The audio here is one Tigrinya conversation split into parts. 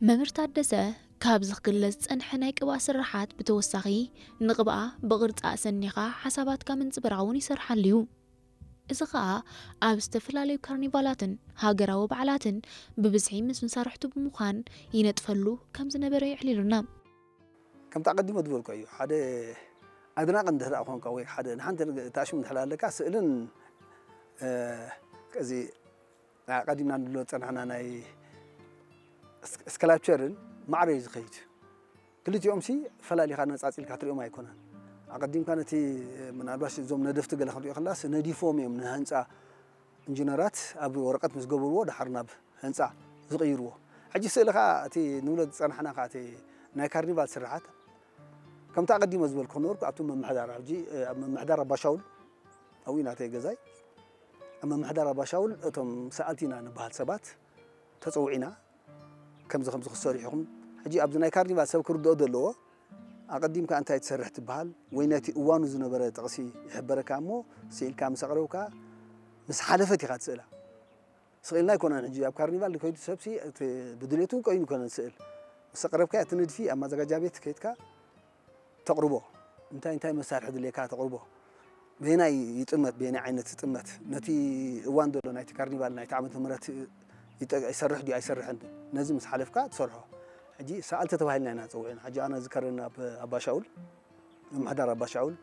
መምህር ታደሰ ካብዚ ክግለጽ ዝጸንሐ ናይ ቅብኣ ስርሓት ብተወሳኺ ንቕብኣ ብቕርጻ ኣሰኒኻ ሓሳባትካ ምንጽብራቕ እውን ይሰርሓሉ እዩ። እዚ ኸኣ ኣብ ዝተፈላለዩ ካርኒቫላትን ሃገራዊ በዓላትን ብብዝሒ ምስ መሳርሕቱ ብምዃን ይነጥፈሉ ከም ዝነበረ የዕሊሉና። ከምቲ ኣቐዲሞ ዝበልኮ እዩ። ሓደ ኣድናቒ እንድሕር ደኣ ኮንካ ወይ ሓደ ንሓንቲ ታሽሙ እንድሕር ኣለካ፣ ስእልን፣ እ፣ እዚ ኣቐዲምና ንብሎ ዝጸናሕና ናይ ስክ-፣ ስክላፕቸርን ማዕረ እዩ ዝኸይድ። ክልቲኦም ሲ ፈላሊኻ ነጻጺልካ ትሪኦም ኣይኮነን። ኣቐዲምካ ነቲ ምናልባሽ እዞም ነደፍቲ ገለ ክንሪኦ ከለስ ነዲፎም እዮም ንህንጻ ኢንጂነራት ኣብ ወረቐት ምስ ገበርዎ ደሓር ናብ ህንጻ ዝቕይርዎ። ሕጂ ስእሊ ኸኣ እቲ ንብሎ ዝጸናሕና ኸኣ እቲ ናይ ካርኒቫል ስርሓት ከምቲ ኣቐዲሞ ዝበልኩ ክነበርኩ ኣብቲ ምምሕዳር ሕጂ ኣብ ምምሕዳር ኣባሻውል ኣብኡ ኢና እቲ ገዛይ ኣብ ምምሕዳር ኣባሻውል እቶም ሰኣልቲ ኢና ንበሃል ሰባት ተጸዊዕና ከምዚ ከምዚ ክትሰርሑ ኢኹም። ሕጂ ኣብዚ ናይ ካርኒቫል ሰብ ክርድኦ ዘለዎ ኣቐዲምካ እንታይ ትሰርሕ ትበሃል ወይ ነቲ እዋኑ ዝነበረ ጥቕሲ ይሕበረካ እሞ ስኢልካ ምስ ኣቕረብካ ምስ ሓለፈት ኢኻ ትስእላ። ስቕ ኢልና ኣይኮነን ሕጂ ኣብ ካርኒቫል ከይዱ ሰብሲ እቲ ብድሌቱ ኮይኑ ይኮነን ስእል ምስ ኣቕረብካ እቲ ንድፊ ኣብ ማዘጋጃ ቤት ከይድካ ተቕርቦ እንታይ እንታይ መሳርሒ ድሌካ ተቕርቦ በየናይ ይጥመት በየናይ ዓይነት ይጥመት ነቲ እዋን ዘሎ ናይቲ ካርኒቫል ናይቲ ዓመተ ምህረት ይጠ- ይሰርሕ ድዩ ኣይሰርሕን ነዚ ምስ ሓለፍካ ትሰርሖ ሕጂ ሰኣልቲ ተባሂልና ኢና ንፀውዕና ሕጂ ኣነ ዝከረኒ ኣብ ኣባሻውል ምምሕዳር ኣባሻውል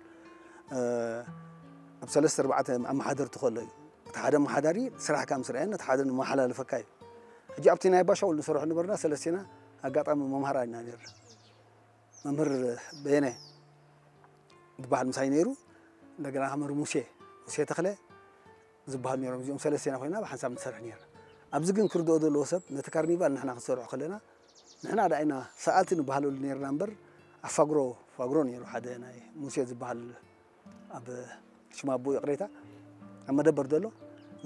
ኣብ ሰለስተ ኣርባዕተ ኣመሓደርቲ ከሎ እዩ እቲ ሓደ ኣመሓዳሪ ስራሕካ ምስ ረኣየን እቲ ሓደ ንመሓላለፈካ እዩ ሕጂ ኣብቲ ናይ ኣባሻውል ንሰርሖ ነበርና ሰለስቴና ኣጋጣሚ መምሃራ ኢና ነርና መምህር በየነ ዝበሃል ምሳይ ነይሩ እንደገና መምህር ሙሴ ሙሴ ተኽለ ዝበሃሉ ነይሮም እዚኦም ሰለስቴና ኮይና ብሓንሳብ ንሰርሕ ነርና ኣብዚ ግን ክርድኦ ዘለዎ ሰብ ነቲ ካርኒቫል ንሕና ክንሰርሖ ከለና ንሕና ደኣ ኢና ሰኣልቲ ንበሃለሉ ነርና እምበር ኣብ ፋግሮ ፋግሮ ነይሩ ሓደ ናይ ሙሴ ዝበሃል ኣብ ሽማቦ ይቕሬታ ኣብ መደበር ዘሎ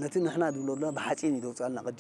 ነቲ ንሕና ዝብለሉና ብሓፂን እዩ ዘውፅኣልና ቅዲ